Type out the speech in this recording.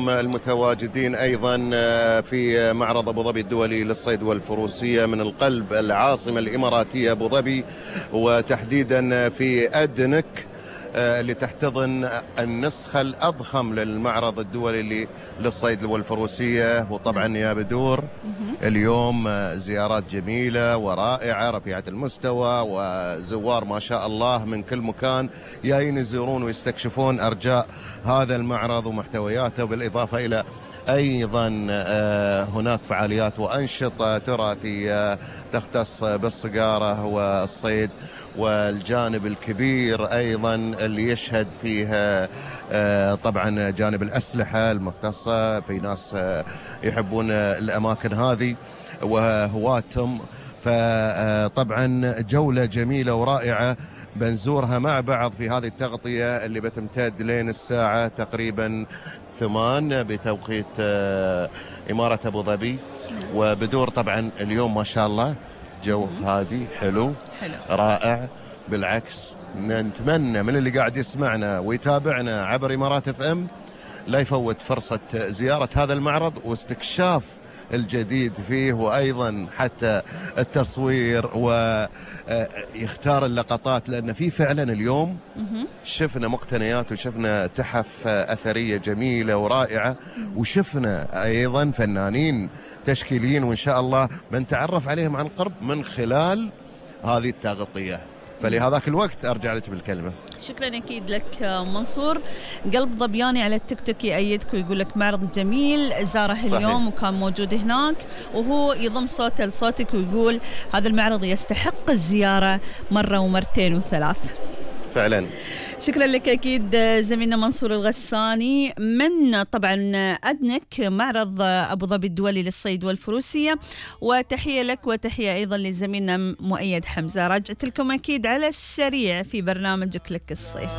لكم المتواجدين أيضا في معرض أبو ظبي الدولي للصيد والفروسية من القلب العاصمة الإماراتية أبو ظبي، وتحديدا في أدنك اللي تحتضن النسخة الأضخم للمعرض الدولي للصيد والفروسية. وطبعا يا بدور اليوم زيارات جميلة ورائعة رفيعة المستوى، وزوار ما شاء الله من كل مكان جايين يزورون ويستكشفون أرجاء هذا المعرض ومحتوياته، بالإضافة إلى أيضا هناك فعاليات وأنشطة تراثية تختص بالصقارة والصيد، والجانب الكبير أيضا اللي يشهد فيها طبعا جانب الأسلحة المختصة. في ناس يحبون الأماكن هذه وهواتهم، فطبعا جولة جميلة ورائعة بنزورها مع بعض في هذه التغطية اللي بتمتد لين الساعة تقريبا 8 بتوقيت إمارة أبو ظبي. وبدور طبعا اليوم ما شاء الله جو هادي حلو رائع، بالعكس نتمنى من اللي قاعد يسمعنا ويتابعنا عبر إمارات FM لا يفوت فرصة زيارة هذا المعرض واستكشاف الجديد فيه، وأيضا حتى التصوير ويختار اللقطات، لأن في فعلا اليوم شفنا مقتنيات وشفنا تحف أثرية جميلة ورائعة، وشفنا أيضا فنانين تشكيليين، وإن شاء الله بنتعرف عليهم عن قرب من خلال هذه التغطية. فلهذاك الوقت أرجع لك بالكلمة. شكرا أكيد لك منصور. قلب ظبياني على التيك توك يأيدك ويقول لك معرض جميل زاره صحيح. اليوم وكان موجود هناك، وهو يضم صوته لصوتك ويقول هذا المعرض يستحق الزيارة مرة ومرتين وثلاث فعلا. شكرا لك أكيد زميلنا منصور الغساني من طبعا أدنك معرض أبو ظبي الدولي للصيد والفروسية. وتحية لك وتحية أيضا لزميلنا مؤيد حمزة. رجعت لكم أكيد على السريع في برنامجك لك الصيف.